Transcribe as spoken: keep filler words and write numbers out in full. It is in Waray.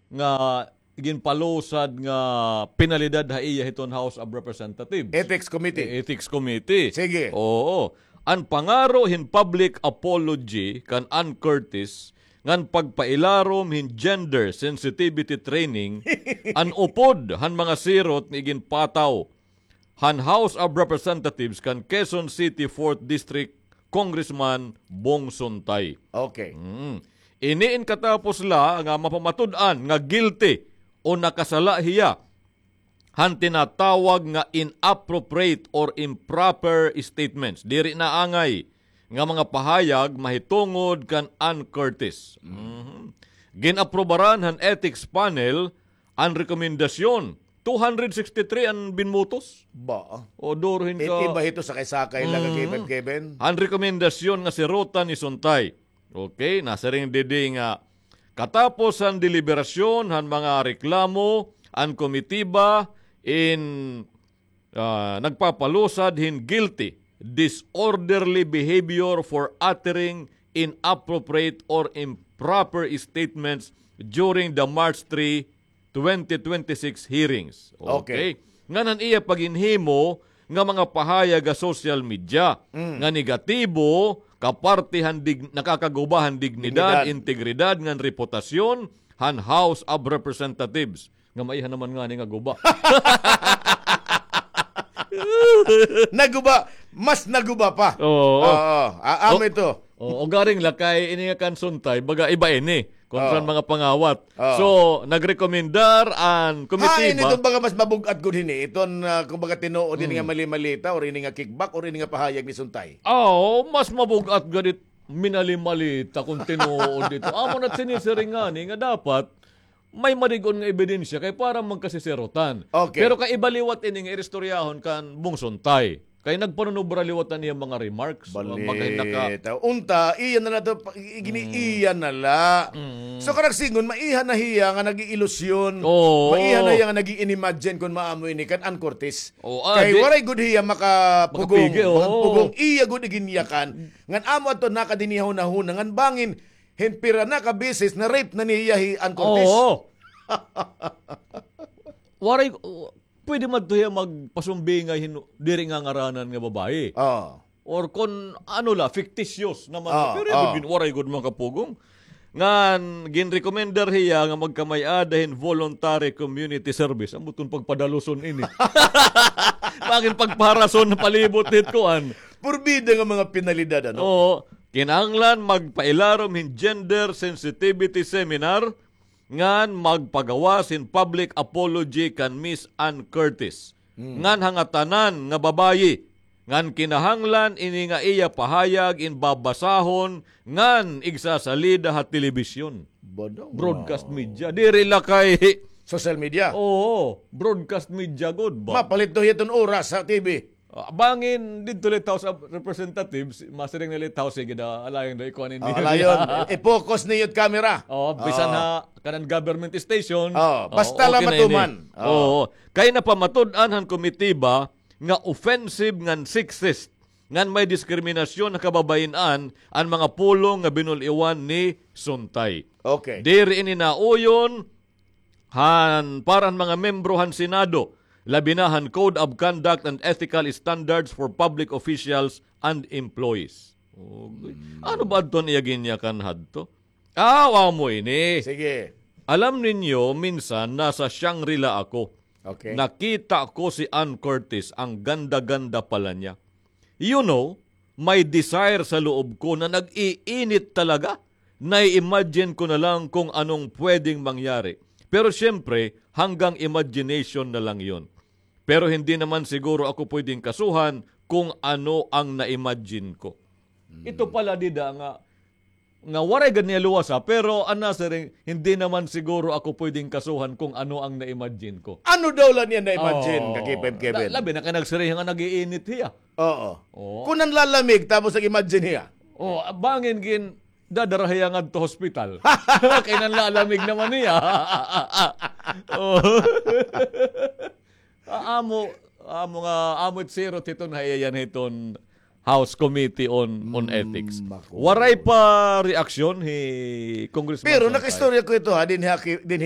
nga ginpalusad nga penalidad ha iya hiton House of Representatives. Ethics Committee. Eh, Ethics Committee. Sige. Oo. An pangaro hin public apology kan Ann Curtis ngan pagpailarom hin gender sensitivity training an upod han mga sirot nga iginpataw han House of Representatives kan Quezon City fourth District Congressman Bong Suntay. Okay. Mm. Ini in katapos la nga mapamatud-an nga guilty o nakasala hiya han tinatawag nga inappropriate or improper statements. Diri na angay nga mga pahayag mahitungod kan Ann Curtis. Mhm. Gin-aprobaran han ethics panel an rekomendasyon. Two hundred sixty-three an binmotos. Ba? O, duro hin ka. Iti ba hito sakay-sakay lang, Mm. Kevin, Kevin? An rekomendasyon nga sirotan ni Suntay. Okay, nasiring didi nga katapos han deliberasyon han mga reklamo, an komitiba in, ah, nagpapalusad hin guilty disorderly behavior for uttering inappropriate or improper statements during the March three, twenty twenty-six hearings. Okay. Okay. Ngan an iya paghinhimo nga mga pahayag ha social media Mm. nga negatibo, kaparte han dig-, nakakaguba han dignidad, Dignidad. integridad ngan reputasyon han House of Representatives. Nga maiha naman ngani nga guba. Naguba, mas naguba pa. Oo. Oo. A-, amo O-, ito. Oo, ugaring la kay ini nga kan Suntay, baga iba ini. Kontra Oo. mga pangawat. Oo. So, nagrekomendar an Hain komitiba. Ito baga mas mabug-at gud hini. Iton, ah, kumbaga tinuod ini nga Mm. mali-malita or ini nga kickback or ini nga pahayag ni Suntay. Oo, mas mabug-at gud it minali-malita kon tinuod ito. Amo na't sinisiring ngani nga dapat may madig-on nga ebidensya kay para magkasisirutan. Okay. Pero kay iba liwat ini nga iristoryahon kan Bong Suntay. Kay nagpanunubra liwat an iya mga remarks. Bali, Magay naka- ta-, unta, iya na la to, pa-, i-, gini-, Mm. iya na la. Mm. So, karagsingon, maiha na hiya nga nag-iilusyon. Oo. Maiha na hiya nga nag-i-inimagine kon maamo ini kan Ann Curtis. Oo, ah, Kay di- waray gud hiya makapugong, Makapigi, oo. makapugong. Iya gud iginyakan. Ngan amo adto nakadinihon na huna. Ngan bangin, hin pira na ka beses na rape na niya hi Ann Curtis. Oo. Waray, pwede man to hiya magpasumbingay hin diri nga ngaranan nga babayi. Oo. Or kon ano la, fictitious naman. Oo, Pero oo. Waray gud makapugong. Ngan, ginrekomendar hiya nga magkamay-ada hin voluntary community service. Amo ton pagpadaluson ini. Bangin pagpaharason na palibot hit kuan. Purbida nga mga penalidad, ano? Oo. Kinahanglan magpailarom hin gender sensitivity seminar ngan magpagawas hin public apology kan Miss Ann Curtis. Hmm. Ngan ha ngatanan nga babayi, ngan kinahanglan ini nga iya pahayag in babasahon ngan igsasalida ha telebisyon. Bono. Broadcast media. Diri la kay social media. Oo, broadcast media gud ba? Mapalit to hiton oras sa T V. Ah, bangin didto la it House of Representatives, masiring na la it House, sige da, alayon da, ikuan ini. Oh, alayon. I-focus niyo it camera. Oh, bisan ha kanan government station. Oh, basta la matuman. Oh. Oo. Kay napamatud-an han komitiba nga offensive ngan sexist ngan may diskriminasyon ha kababayin-an an mga pulong nga binul-iwan ni Suntay. Okay. Diri ini nauyon han para han mga membro han Senado, labi na han Code of Conduct and Ethical Standards for Public Officials and Employees. Okay. Hmm. Ano ba adto an iya ginyakan hadto? Ah, amo ini. Sige. Alam ninyo, minsan nasa Shangri-La ako. Okay. Nakita ko si Ann Curtis, ang ganda-ganda pala niya. You know, may desire sa loob ko na nag-iinit talaga. Nai-imagine ko na lang kung anong pwedeng mangyari. Pero siyempre, hanggang imagination na lang yun. Pero hindi naman siguro ako pwedeng kasuhan kung ano ang na-imagine ko. Ito pala dida nga, nga waray gad niya luwasa, pero an nasiring, hindi naman siguro ako pwedeng kasuhan kung ano ang na-imagine ko. Ano daw la niya na-imagine, ka K five Kevin? La-, labi na kay nagsiring nga nag-iinit hiya. Oo. Oo. Kun nanlalamig, tapos nag-imagine hiya. Oh, bangin gin, dadara hiya ngadto hospital. Kay nanlalamig naman hiya. Oh. Ah, amo, amo nga, amo it sirot hiton ha iya hiton House Committee on, on Ethics. Waray pa reaksyon hi Congressman Sontag. Pero nakaistorya ko ito, ha, dinhi ha ki-, dinhi